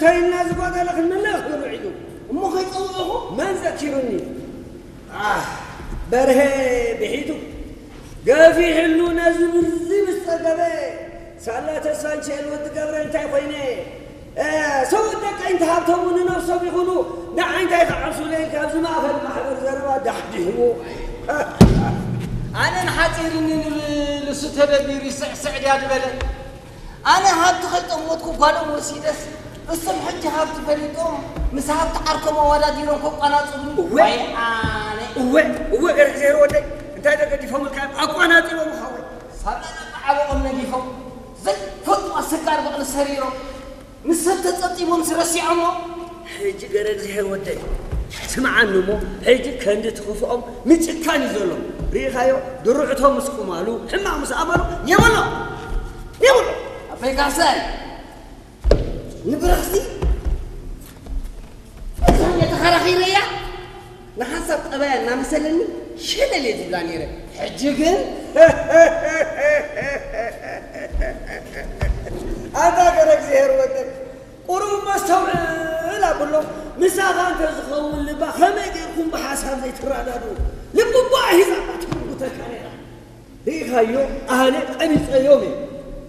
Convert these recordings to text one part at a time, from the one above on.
እንታይ ኢልና ዝጎደለ ክንምልእ ክብል ውዒሉ። እሞ ከይጸውዕኹ? መን ዘኪሩኒ? ኣህ፣ በርሄ ብሒቱ ገፊሕሉ ነዚ ብርዚ ምስ ጸገበ፣ ሳላ ተስፋንቸል ወዲ ገብረ እንታይ ኮይነ? እ፣ ሰብኡት ደቀይን ተሃብተሙ ንነብሶም ይኹኑ፣ ንዓይ እንታይ ክዓብሱለይ? ካብዚ ማእከል ማሕበር ዘረባ ዳሕዲሕዎ። ኣነ ንሓጺርኒ ንብል እሱ ተደቢሩ ይስዕስዕ ድያ ዝበለ። ኣነ ሃብቲ ከይጠሞትኩ ጓሎም ወሲደስ፣ እሶም ሕጂ ሃብቲ ፈሊጦም ምስ ሃብቲ ዓርኮም ኣወዳዲሮም ከቋናጽቡኒ። እወ። ወይ ኣነ። እወ፣ እወ፣ ገረግዜር ወደይ፣ እንታይ ተገዲፎምልካ እዮም? ኣቋናጺቦም ሓወይ። ሳላ ዓበኦም ነጊፎም፣ ዘይፈልጡ ኣሰጋር በቕሊ ሰሪሮም፣ ምስ ሰብ ተጸብጢቦም ስረሲዖሞ። ሕጂ ገረግዜር ወደይ፣ ስምዓኒ እሞ፣ ሕጂ ከንዲ ትኽፍኦም ምጭካን እዩ ዘሎ። ርኢኻዮ? ድሩዕቶም ምስ ቁማሉ፣ ሕማቕ ምስ ኣመሉ፣ የበሎ! የብሎ! ኣቦይ ካሕሳይ፣ ንብረኽሲ እዛ እየ ተኸራኺረያ፣ ንሓንሳብ ጠባያ እናመሰለኒ ሸለል እየ ዝብላ ነይረ። ሕጂ ግን ኣንታ ገረግዜር ወደይ፣ ቁሩብ መስተውዕል ኣብሎ። ምሳኻ እንተ ዝኸውን ልባ ከመይ ጌርኩም ብሓሳብ ዘይትረዳድኡ? ልቢ እባ ሒዛ እባ ትጉተካ ነይራ። ርኢኻዮ? ኣነ ቀቢጸዮም እየ።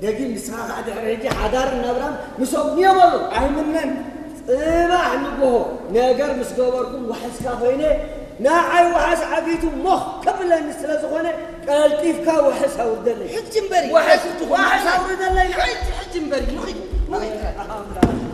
ደጊም ንስኻ ኸኣ ድሕሪ ሕጂ ሓዳርን ናብራን ምስኦም ንየበሉ። ኣይምነን። ጽባሕ ንግሆ ነገር ምስ ገበርኩም ዋሕስካ ኮይነ፣ ንዓይ ዋሕስ ዓጊቱ ሞኽ ከብለኒ ስለ ዝኾነ፣ ቀልጢፍካ ዋሕስ ኣውርደለይ። ሕጂ እምበሪ፣ ዋሕስ፣ ኣይትኹን። ዋሕስ ኣውርደለይ። ሕጂ፣ ሕጂ እምበሪ፣ ንኺድ፣ ንኺድ።